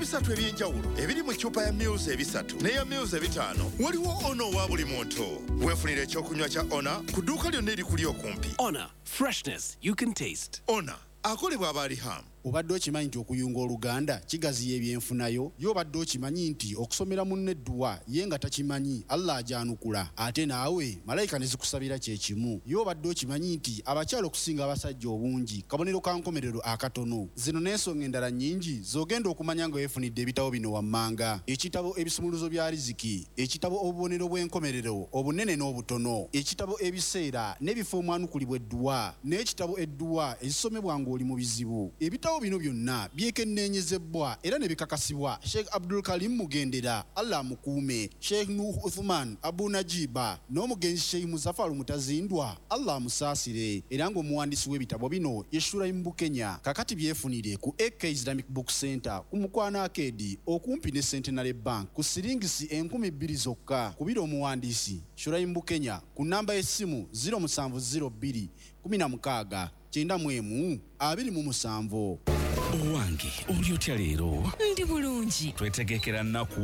3 eby'enjawulo ebiri mu ccupa ya mils 3 n'eya mils 5, waliwo Ona owa buli muntu. Weefunira ekyokunywa kya Ona ku dduuka lyonna erikuli okumpi. Honor, freshness you can taste. Ona akolebwa abaalihamu. Obadde okimanyi nti okuyunga oluganda kigaziya ebyenfunayo? Ye obadde okimanyi nti okusomera munno edduwa ye nga takimanyi Allah agyanukula ate naawe malayika ne zikusabira kye kimu? Ye obadde okimanyi nti abakyala okusinga abasajja obungi kabonero ka nkomerero akatono? Zino n'ensonga endala nnyingi z'ogenda okumanya nga weefunidde ebitabo bino wammanga. Ekitabo Ebisumuluzo bya Riziki, ekitabo Obubonero bw'enkomerero obunene n'obutono, ekitabo Ebiseera n'ebifo omwanukulibwa edduwa n'ekitabo Edduwa ezisomebwa ng'oli mu bizibu. Ebitabo bino byonna byekenneenyezebbwa era ne bikakasibwa Sheikh Abdul Karim Mugendera, Allah amukuume, Sheikh Nuuhu Uthuman Abu Najiba n'omugenzi Sheikh Muzafaru Mutazindwa, Allah amusaasire, era ng'omuwandiisi w'ebitabo bino ye Shuraim Bukenya. Kakati byefunire ku AK Islamic Book Centre ku Mukwano Arcade okumpi ne Centenary Bank ku siringisi 2000 zokka. Kubira omuwandiisi Shuraim Bukenya ku nnamba y'essimu 0702 16 91 27. Owange, oli otya leero? Ndi bulungi. Twetegekera nnaku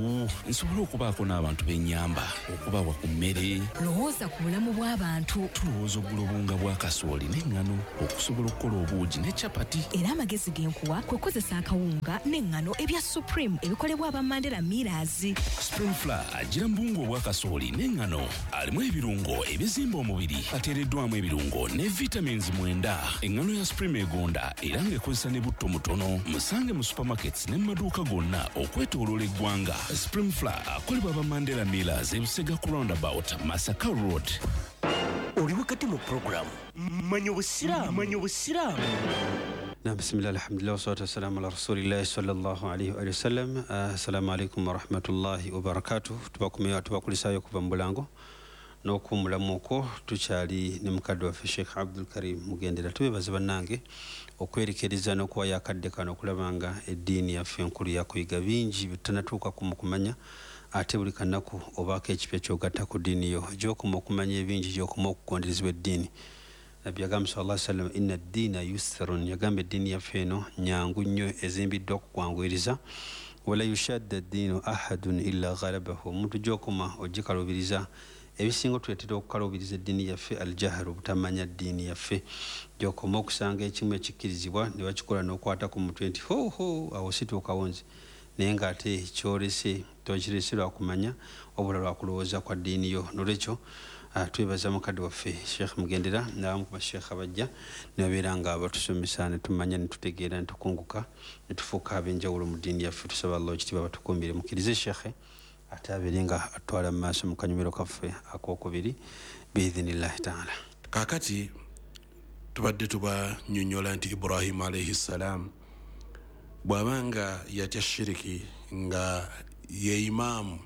nsobole okubaako n'abantu b'ennyamba, okubawa ku mmere. Lowooza ku bulamu bw'abantu. Tulowooza okugula obuwunga bwa kasooli n'eŋŋano okusobola okukola obuugi ne capati. Era amagezi ge nkuwa kwe kukozesa akawunga n'eŋŋano ebya Supreme ebikolebwa aba Mandela Millers. Supreme Flour ajjira mu buwunga obwa kasooli n'eŋŋano, alimu ebirungo ebizimba omubiri, ateereddwamu ebirungo ne vitamins 9. Eŋŋano ya Supreme egonda era ng'ekozesa ne butto mutono. Musange mu supermarkets ne mu maduuka gonna okwetooloola eggwanga. Supreme Flour akolebwa aba Mandela Millers e Busega ku roundabout Masaka Road. Oli wakati mu pulogulaamu Manya Obusiraamu. Manya Obusiraamu. Na bismillah, alhamdulillah, wassalatu wassalamu ala rasulillahi sallallahu alaihi wa sallam. Assalamu alaikum warahmatullahi wabarakatuh. Tubakumira tubakulisaayo okuva mu bulango n'okuwummulamu okwo. Tukyali ne mukadde waffe Sheikh Abdul Karim Mugendera. Tubeebaza bannange okwerekereza n'okuwayo akadde kano okulaba nga eddiini yaffe enkulu yakuyiga bingi bye tutanatuukako mu kumanya, ate buli kanaku obaako ekipya ky'ogatta ku ddiini yo. Gy'okoma okumanya ebingi, gy'okoma okugonderezebwa eddiini. Nabbi yagamba sallallahu alaihi wasallam, inna ddiina yusrun, yagamba eddiini yaffe eno nyangu nnyo, ezimbiddwa ku kwanguyiriza. Wala yushadda ddiinu ahadun illa ghalabahu, omuntu gy'okoma ogikalubiriza. Ebisinga otuleetera okukalubiriza eddiini yaffe aljahlu, obutamanya ddiini yaffe. Gy'okoma okusanga ekimu ekikkirizibwa ne bakikola n'okwata ku mutwe nti ho ho, awo situukawo nze, naye ng'ate kyolese tokirese lwa kumanya wabula lwa kulowooza kwa ddiini yo. Nolwekyo twebaza mukadde waffe Sheikh Mugendera n'abamu ku basheikh abajja ne babeera nga batusomesa ne tumanya ne tutegeera ne tukunguka ne tufuuka ab'enjawulo mu ddiini yaffe. Tusaba Allah ekitiibwa batukuumire. Mukkirize Sheikh ate abeere nga atwala mu maaso mu kanyumiro kaffe ak'okubiri biidhinillahi taala. Kaakati tubadde tubanyonnyola nti Ibrahimu alaihi ssalaamu bw'aba nga yatya shiriki, nga ye imaamu,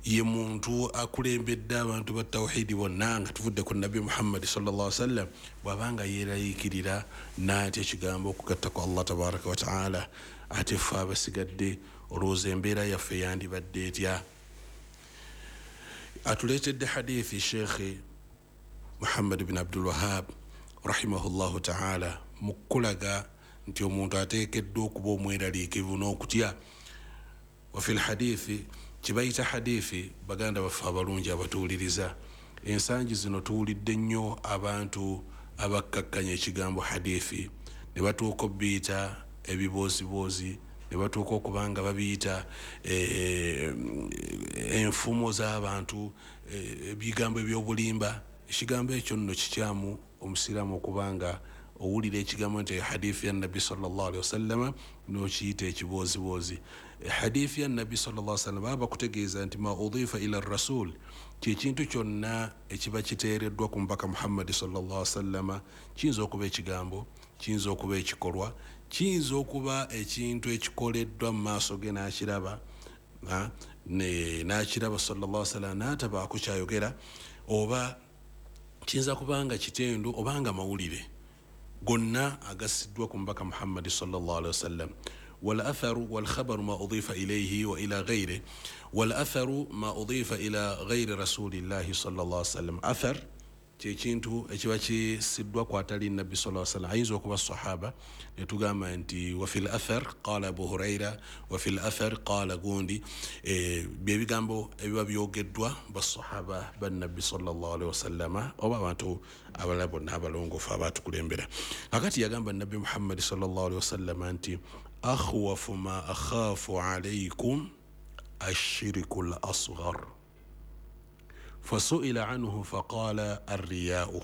ye muntu akulembedde abantu ba tawhidi bonna nga tuvudde ku Nabbi Muhammadi sallallahu alaihi wasallam, bw'aba nga yeeraliikirira n'atya ekigambo okugatta ku Allah tabaraka wa taala, ate ffe abasigadde olowooza embeera yaffe yandibadde etya? Atuleetedde hadithi Sheikh Muhammad bin Abdul Wahab rahimahullahu taala mu kukulaga nti omuntu ateekeddwa okuba omweraliikirivu n'okutya. Wa fil hadithi, kibayita hadithi, baganda baffe abalungi abatuwuliriza, ensangi zino tuwulidde nnyo abantu abakkakkanya ekigambo hadithi ne batuuka obiyita ebibooziboozi, ne batuuka okuba nga babiyita enfumo z'abantu, ebigambo eby'obulimba. Ekigambo ekyo nno kikyamu omusiraamu okuba nga owulira ekigambo nti hadithi ya Nabbi sallallahu alaihi wasallama n'okiyita ekibooziboozi. Hadithi ya Nabbi sallallahu alaihi wasallam baba bakutegeeza nti ma udifa ila rasul, kyekintu kyonna ekiba kiteereddwa ku mubaka Muhammadi sallallahu alaihi wasallama. Kiyinza okuba ekigambo, kiyinza okuba ekikolwa, kiyinza okuba ekintu ekikoleddwa mu maaso ge n'akiraba, n'akiraba sallallahu alaihi wasallam n'atabaako kyayogera, oba kiyinza kuba nga kitendo oba nga mawulire gonna agasiddwa ku mubaka Muhammadi sallallahu alaihi wasallam. Wal atharu wal khabaru ma udifa ilayhi wa ila ghayri, wal atharu ma udifa ila ghayri rasulillahi sallallahu alaihi wasallam. Athar Kyekintu ekiba kisiddwa kwatali nabbi sallallahu alaihi wasallam, ayinza okuba sahaba netugamba nti wa fil athar qala Abu Huraira, wa fil athar qala gundi, byebigambo ebiba byogeddwa basahaba bannabbi sallallahu alaihi wasallama oba abantu abalala bonna abalongoofu abatukulembera. Kakati yagamba nabbi Muhammad sallallahu alaihi wasallama nti akhwafu ma akhafu alaykum ashirku al-asghar fasuila anhu faqala arriya'u.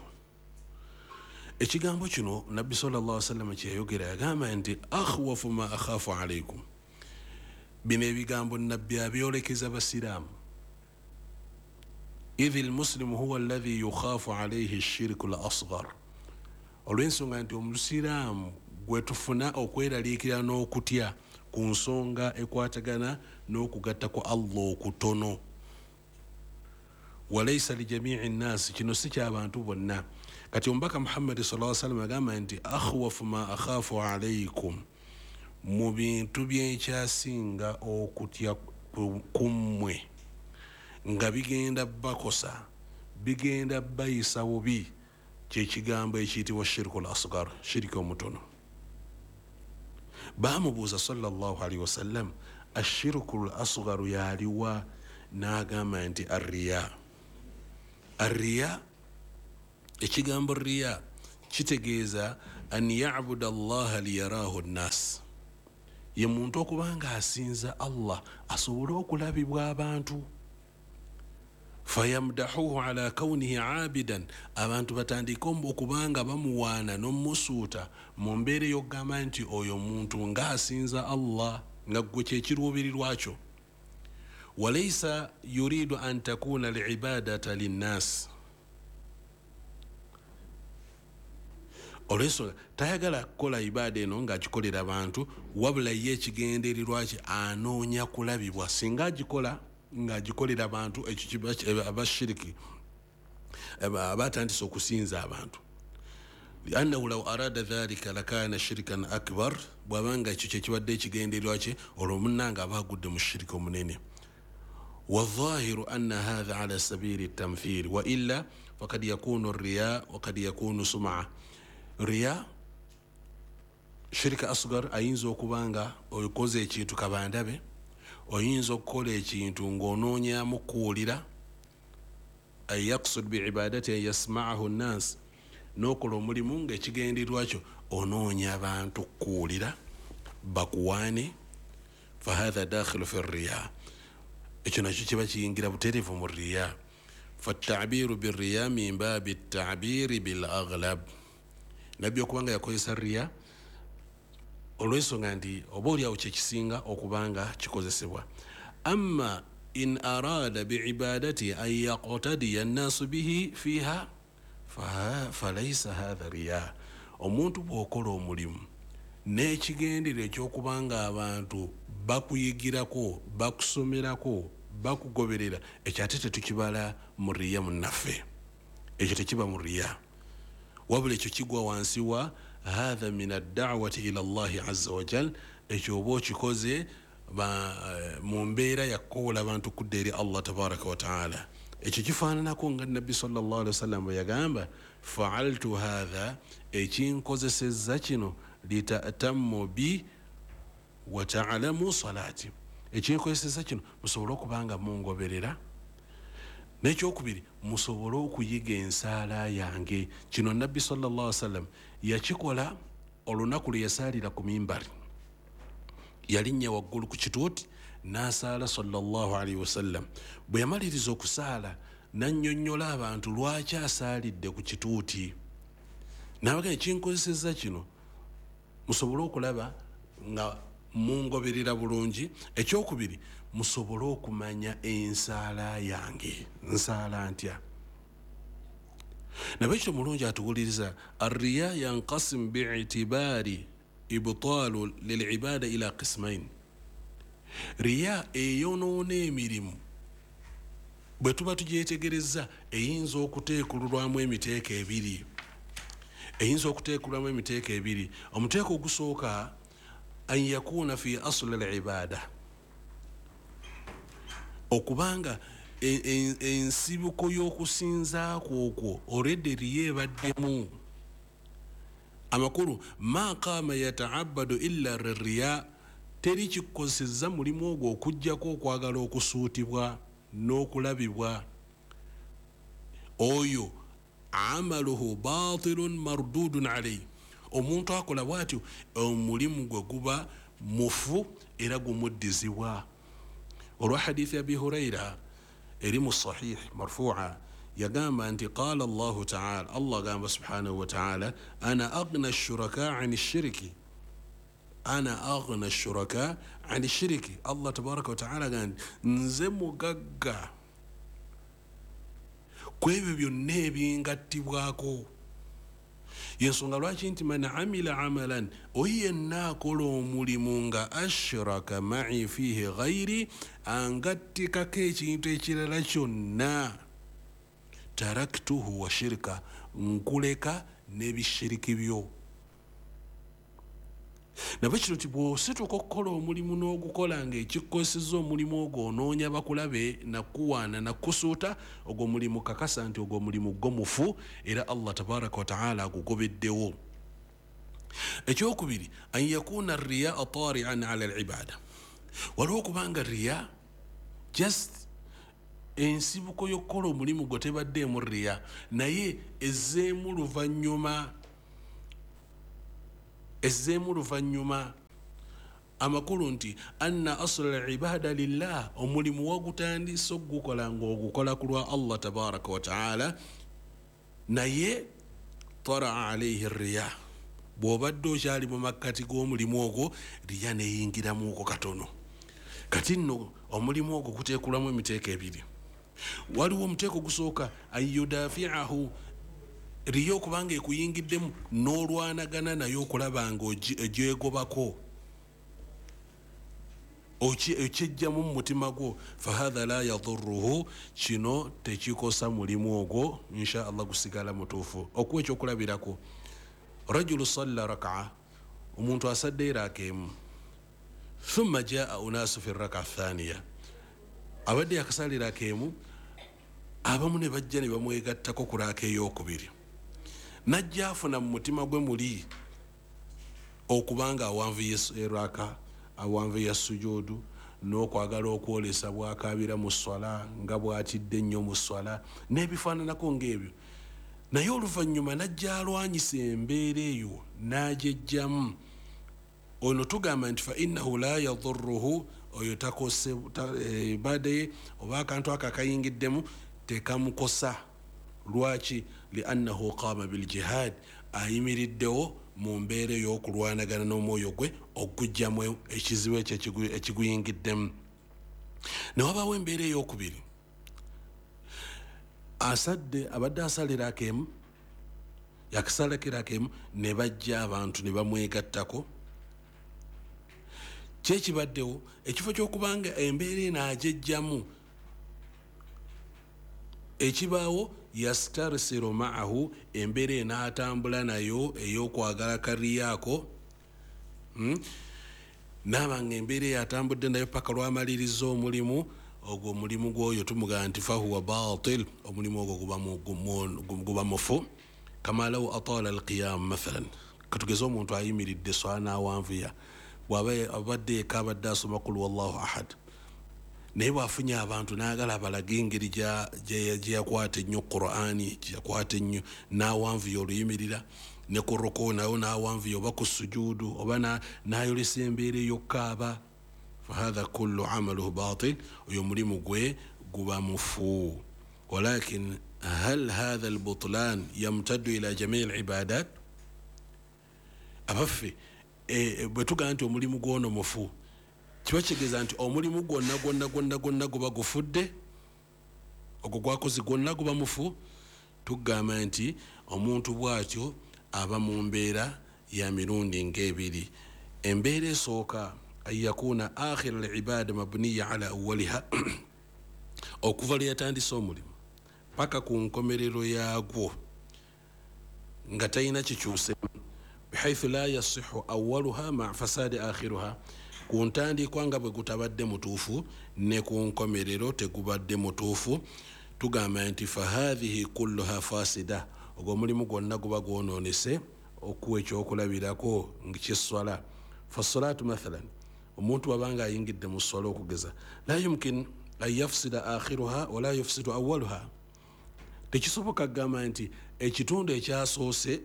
Ekigambo kino nabbi sallallahu alaihi wasallam kyeyogera, yagamba nti akhwafu ma akhafu alaykum. Bino ebigambo nabbi abyolekeza basiraamu. Idh almuslimu huwa alladhi yukhafu alayhi ashirku al-asghar, olw'ensonga nti omusiraamu gwe tufuna okweraliikirira n'okutya ku nsonga ekwatagana n'okugatta ku Allah okutono. Walaysa lijamii nnaasi, kino si ky'abantu bonna. Kati omubaka Muhammadi sallallahu alaihi wasallam agamba nti akhwafu ma akhafu alaykum, mu bintu byenkyasinga okutya kummwe nga bigenda bakosa, bigenda bayisa bubi, kyekigambo ekiyitibwa shirku al-asghar, shiriki omutono. Baamubuuza sallallahu alaihi wasallam ashirku al-asgharu yaliwa, n'agamba nti arriya. Arriya, ekigambo riya kitegeeza an yabuda allaha liyarahu nnas, ye muntu okubanga asinza Allah asobole okulabibwa abantu. Fayamdahuhu ala kaunihi abidan, abantu batandika okubanga bamuwaana n'omusuuta mu mbeera ey'okugamba nti oyo muntu ng'asinza Allah, nga ggwe kyekiruubirirwa kyo. Walaysa yuridu an takuna alibadata linnas, olw'ensonga tayagala kukola ibaada eno ng'agikolera abantu, wabula ye ekigendererwa kye anoonya kulabibwa. Singa agikola ng'agikolera abantu, ekyo abashiriki abatandise okusinza abantu. Liannahu law arada dhalika lakana shirkan akbar, bw'abanga ekyo kyekibadde ekigendererwa kye, olwo munnanga aba agudde mu shiriki omunene. والظاهر أن هذا على سبيل التمثيل، وإلا فقد يكون الرياء وقد يكون سمعة. Riya shirika asghar ayinza okubanga okoze ekintu kabandabe, oyinza okukola ekintu ng'onoonyamu kuwulira, ay yaqsud biibadati an yasma'ahu nnas, n'okola omulimu ng'ekigendererwa kyo onoonya abantu kuwulira bakuwaane, fahatha dakhilu fi riya, ekyo nakyo kiba kiyingira butereevu mu riya. Fattabiru birriya min babi tabiri bil aghlab, nabbi okubanga yakozesa riya olw'ensonga nti oba oliawo kyekisinga okubanga kikozesebwa. Amma in arada biibadati an yaqtadiya nnaasu bihi fiha falaisa hatha riya. Omuntu bw'okola omulimu n'ekigendere eky'okubanga abantu bakuyigirako, bakusomerako, bakugoberera, ekyo ate tetukibala mu riya munnaffe, ekyo tekiba mu riya, wabula ekyo kigwa wansi wa hatha min addawati ila Allahi azza wa jal, ekyo oba okikoze mu mbeera yakukowola abantu kudda eri Allah tabaraka wa taala. Ekyo kifaananako nga nabbi sallallahu alaihi wasallam bwe yagamba faaltu hatha, ekinkozesezza kino litatammu bi wa taalamu salati, ekinkozesezza kino musobole okubanga mungoberera, n'ekyokubiri musobole okuyiga ensaala yange. Kino nabbi sallallahu alaihi wasallam yakikola olunaku lwe yasaalira ku mimbari, yalinnya waggulu ku kituuti n'asaala sallallahu alaihi wasallam. Bwe yamaliriza okusaala n'annyonnyola abantu lwaki asaalidde ku kituuti, n'abagamba ekinkozesezza kino musobole okulaba nga mungoberera bulungi, ekyokubiri musobole okumanya ensaala yange nsaala ntya. Nabekyo mulungi atuwuliriza arriya yanqasim bi'tibari ibtalu lilibada ila qismain. Riya eyonoona emirimu bwe tuba tugyetegereza eyinza okuteekululwamu emiteeko ebiri, eyinza okuteekulwamu emiteeko ebiri. Omuteeko ogusooka an yakuna fi asli alibada, okubanga Ensibuko y'okusinza kwokwo already riya ebaddemu. Amakulu ma qama yata'abbadu illa lirriya, teri kikosezza mulimu ogwo okuggyako okwagala okusuutibwa n'okulabibwa. Oyo amaluhu batilun mardudun alayhi, omuntu akola bw'atyo omulimu gwe guba mufu era gumuddizibwa. Olwa hadithi Abi Huraira eri mu sahih marfu'a, yagamba nti qala Allahu ta'ala, Allah agamba subhanahu wa ta'ala, ana aghna shuraka ani shiriki, ana aghna shuraka ani shiriki. Allah tabaraka wa ta'ala agamba nze mugagga ku ebyo byonna ebingattibwako. Yensonga lwaki nti man amila amalan, oyo yenna akola omulimu nga ashraka ma'i fihi ghairi, angattikako ekintu ekirala kyonna, taraktuhu wa shirka, nkuleka n'ebishiriki byo. Nabwe kino nti bw'osituka okukola omulimu n'ogukola ng'ekikosezza omulimu ogwo onoonya bakulabe nakuwaana nakusuuta, ogwo mulimu kakasa nti ogwo mulimu gwo mufu era Allah tabaraka wa taala agugobeddewo. Ekyokubiri, an yakuna riyaa tarian ala al-ibada, waliwo okubanga riya just ensibuko y'okukola omulimu gwo tebaddeemu riya, naye ezzeemu luvannyuma, ezzeemu luvannyuma. Amakulu nti anna asla al-ibada lillah, omulimu wagutandise okugukola ng'ogukola ku lwa Allah tabaraka wa taala, naye taraa alayhi riya, bw'obadde okyali mu makkati g'omulimu ogwo riya neyingiramu okwo katono. Kati nno omulimu ogwo guteekulamu emiteeko ebiri. Waliwo omuteeko gusooka ayudafiahu, riya okubanga ekuyingiddemu n'olwanagana naye okulaba nga ogyegobako, okyejjamu mu mutima gwo, fahatha la yadurruhu, kino tekikosa mulimu ogwo, insha Allah gusigala mutuufu. Okuwa ekyokulabirako, rajulu salla raka'a, omuntu asadde eraaka emu, thumma jaa unasu fi raka'a thaniya, abadde yakasala eraaka emu, abamu ne bajja ne bamwegattako ku raaka ey'okubiri, najja afuna mu mutima gwe muli okubanga awanvuye eraka, awanvuye sujudu, n'okwagala okwolesa bw'akaabira mu swala nga bw'atidde ennyo mu swala n'ebifaananako ng'ebyo. Naye oluvannyuma najja alwanyisa embeera eyo n'agyejjamu. Ono tugamba nti fa innahu la yadurruhu, oyo takose ibada ye oba akantu ako akayingiddemu tekamukosa. Lwaki? Liannahu qama biljihad, ayimiriddewo mu mbeera ey'okulwanagana n'omwoyo gwe okugyamu ekizibu ekyo ekiguyingiddemu. Ne wabaawo embeera ey'okubiri, asadde abadde asalira akemu, yakasalakira akemu, ne bajja abantu ne bamwegattako. Kyekibaddewo ekifo ky'okubanga embeera eno agyejjamu, ekibaawo yastarsiru ma'ahu, embeera enaatambula nayo ey'okwagala kariyaako, naaba nga embeera eyo atambudde nayo paka lwamaliriza omulimu ogwo, omulimu gw'oyo tumugamba nti fahuwa batil, omulimu ogwo guba mufu. Kama law atala alqiyam mathalan, katugeze omuntu ayimiridde swala n'awanvuya, bw'aba abadde yekka abadde asoma kul wallahu ahad, naye bw'afunye abantu n'agala abalage engeri gye yakwata ennyo Qur'ani, gye yakwata ennyo, n'awanvuya oluyimirira, ne ku ruku nayo n'awanvuya, oba ku sujudu, oba n'ayolesa embeera ey'okukaaba, fahadha kullu amaluhu batil, oyo omulimu gwe guba mufu. Walakin hal hadha albutlan yamtaddu ila jamii alibadat? Abaffe bwe tugamba nti omulimu gw'ono mufu, kiba kitegeeza nti omulimu gwonna gwonna gwonna gwonna guba gufudde, ogwo gwakoze gwonna guba mufu? Tugamba nti omuntu bw'atyo aba mu mbeera ya mirundi ng'ebiri. Embeera esooka, an yakuna akhira al-ibada mabniya ala awwaliha, okuva lwe yatandise omulimu paka ku nkomerero yaagwo nga talina kikyusemu, bihaithu la yasihu awaluha ma fasadi akhiruha, Ku ntandikwa nga bwe gutabadde mutuufu, ne ku nkomerero tegubadde mutuufu. Tugamba nti fahadhihi kulluha fasida, ogwo omulimu gwonna guba gwonoonese. Okuwa ekyokulabirako kyesswala, fassalatu mathalan, omuntu wabanga ayingidde mu sswala okugeza, la yumkin an yafsida akhiruha wala yufsidu awaluha. Tekisoboka kugamba nti ekitundu ekyasoose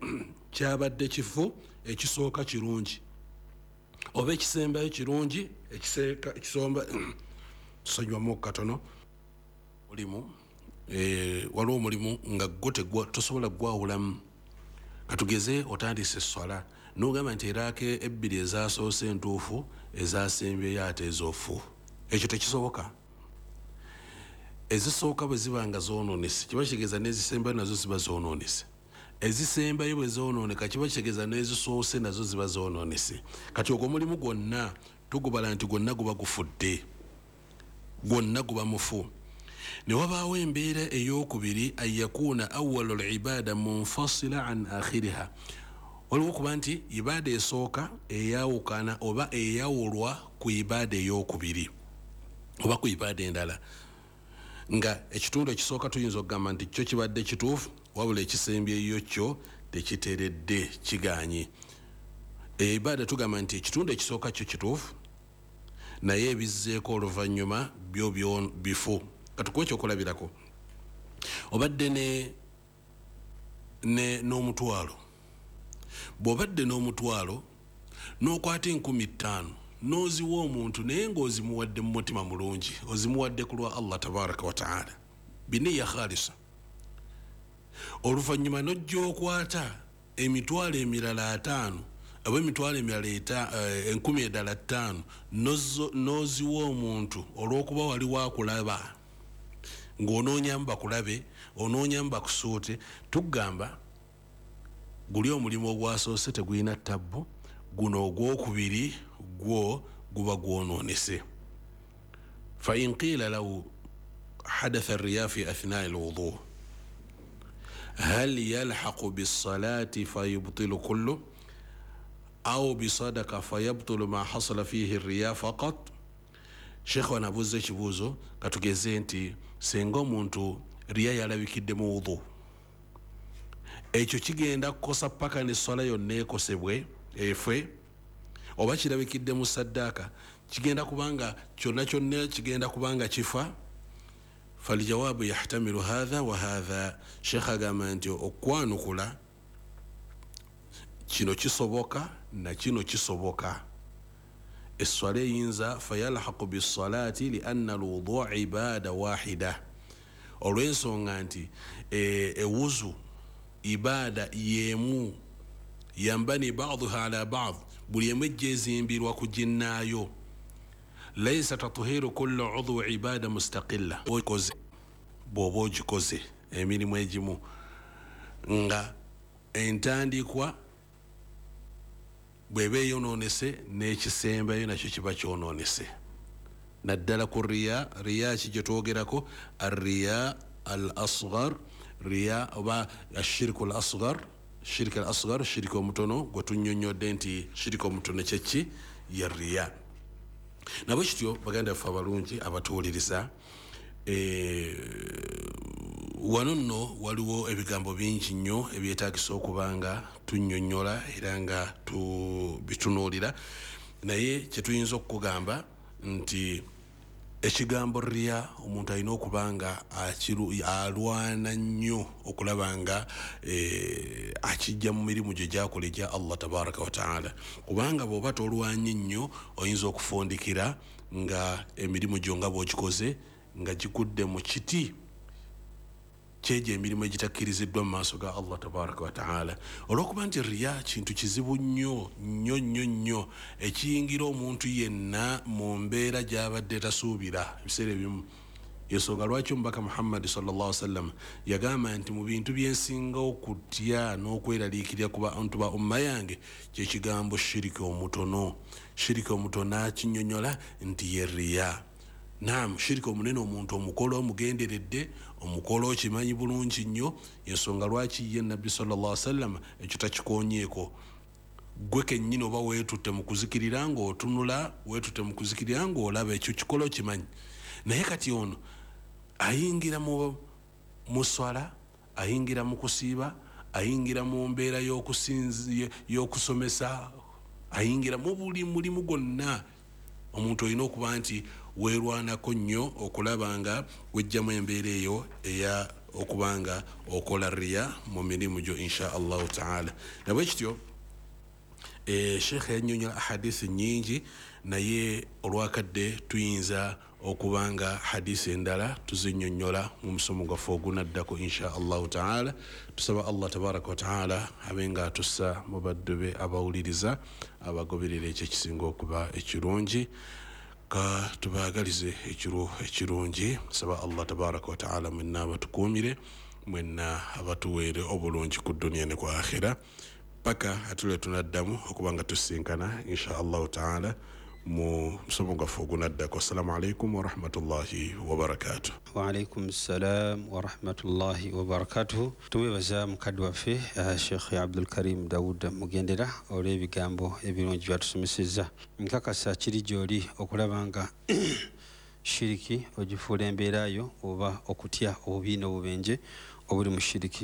kyabadde kifu, ekisooka kirungi, oba ekisembayo kirungi, ekisomba tusonyiwamu katono. Mulimu waliwo omulimu nga gwo tosobola gwawulamu. Katugeze otandise esswala n'ogamba nti eraaka ebbiri ezasoose entuufu, ezasembyeyo ate ezoofu. Ekyo tekisoboka. Ezisooka bwe ziba nga zoonoonese, kiba kitegeeza n'ezisembayo nazo ziba zoonoonese. Ezisembayo bwe zoonooneka, kiba kitegeeza n'ezisoose nazo ziba zoonoonese. Kati ogwo omulimu gwonna tugubala nti gwonna guba gufudde, gwonna guba mufu. Ne wabaawo embeera ey'okubiri, an yakuuna awalu libada munfasila an akhiriha. Waliwo okuba nti ibaada esooka eyawukana oba eyawulwa ku ibaada ey'okubiri oba ku ibaada endala, nga ekitundu ekisooka tuyinza okugamba nti kyo kibadde kituufu, wabula ekisembyeyo kyo tekiteredde, kiganye. Ibaada tugamba nti ekitundu ekisooka kyo kituufu, naye ebizzeeko oluvannyuma byo bifu. Katukuwa ekyokulabirako, obadde n'omutwalo. Bw'obadde n'omutwalo n'okwata 5,000 n'oziwa omuntu, naye ng'ozimuwadde mu mutima mulungi, ozimuwadde ku lwa Allah tabaraka wa taala biniya khalisa. Oluvannyuma n'ojja okwata emitwalo emirala 5 oba emitwalo emirala 5,000 n'oziwa omuntu olw'okuba wali wakulaba, ng'onoonyamu bakulabe, onoonyamu bakusuute. Tugamba guli omulimu ogwasoose tegulina tabbu, guno ogwokubiri gwo guba gwonoonese. Fa in qiila law hadatha riya fi athnai lwudu hal yalhaqu bisalati fayubtilu kullu au bisadaka fayabtulu ma hasala fihi riya faqat. Sheikh wanabuuza ekibuuzo, katugeze nti singa omuntu riya yalabikidde mu wudu, ekyo kigenda kukosa paka n'esswala yonna ekosebwe efe, oba kirabikidde mu saddaaka, kigenda kubanga kyonna kyonna kigenda kubanga kifa. Faljawabu yahtamilu hatha wa hatha. Sheikh agamba nti okwanukula kino kisoboka na kino kisoboka. Esswala eyinza fayalhaqu bisalati lianna alwudu ibada wahida, olw'ensonga nti ewuzu ibada yemu, yambani baduha ala bad, buli emu ejja ezimbirwa ku ginnaayo. Laisa tatuhiru kullu udhu ibada mustaqilla. Bw'oba ogikoze emirimu egimu nga entandikwa bw'eba eyonoonese, n'ekisembayo nakyo kiba kyonoonese. Naddala ku riya. Riya ki gye twogerako? Arriya al asgar, riya oba ashiriku al asgar, shirika al asgar, shirika omutono gwe tunnyonnyodde nti shirika omutono kyeki? Ye riya. Nabwe kityo baganda baffe abalungi abatuwuliriza, wano nno waliwo ebigambo bingi nnyo ebyetaagisa okuba nga tunnyonnyola era nga tubitunuulira, naye kyetuyinza okukugamba nti ekigambo riya omuntu alina okuba nga alwana nnyo okulaba nga akijja mu mirimu gye gyakola egya Allah tabaraka wa taala, kubanga bw'oba tolwanye nnyo oyinza okufundikira nga emirimu gyo nga bw'ogikoze nga gigudde mu kiti kyegyo emirimu egitakkiriziddwa mu maaso ga Allah tabaraka wa taala. Olw'okuba nti riya kintu kizibu nnyo nnyo nnyo nnyo ekiyingira omuntu yenna mu mbeera gy'abadde tasuubira ebiseera ebimu. Ensonga lwaki omubaka Muhammadi sallallahu alaihi wasallam yagamba nti mu bintu byensinga okutya n'okweraliikirira ku bantu ba umma yange kyekigambo shiriki omutono. Shiriki omutono akinnyonnyola nti ye riya. Naam, shiriki omunene omuntu omukolo omugenderedde, omukolo okimanyi bulungi nnyo. Ensonga lwaki ye nabbi sallallahu alaihi wasallam ekyo takikonyeeko. Gwe kennyini oba weetutte mu kuzikirira ng'otunula, weetutte mu kuzikirira ng'olaba ekyo kikola okimanyi. Naye kati ono ayingira mu swala, ayingira mu kusiiba, ayingira mu mbeera y'okusomesa, ayingira mu buli mulimu gwonna. Omuntu olina okuba nti weerwanako nnyo okulaba nga wejjamu embeera eyo eya okuba nga okola riya mu mirimu gyo insha Allahu taala. Nabwe kityo sheekhe yannyonnyola ahadisi nnyingi, naye olwakadde tuyinza okuba nga hadisi endala tuzinnyonnyola mu musomo gwaffe ogunaddako insha Allahu taala. Tusaba Allah tabaraka wa taala abe nga atussa mu baddu be abawuliriza abagoberera ekyo ekisinga okuba ekirungi. Ka tubaagalize ekiro ekirungi. Saba Allah tabaraka wa taala mwenna abatukuumire, mwenna abatuweere obulungi ku duniya ne ku akhira, paka atule tunaddamu okuba nga tusinkana insha Allahu taala mu musomo gwaffe ogunaddako. Assalamu alaikum warahmatullahi wabarakatuh. Waalaikum salam warahmatullahi wabarakatuh. Tumwebaza mukadde waffe Sheikh Abdulkarim Daud Mugendera olw'ebigambo ebirungi byatusomesezza. Nkakasa kiri gy'oli okulaba nga shiriki ogifuula embeera yo oba okutya obubi n'obubenje obuli mu shiriki.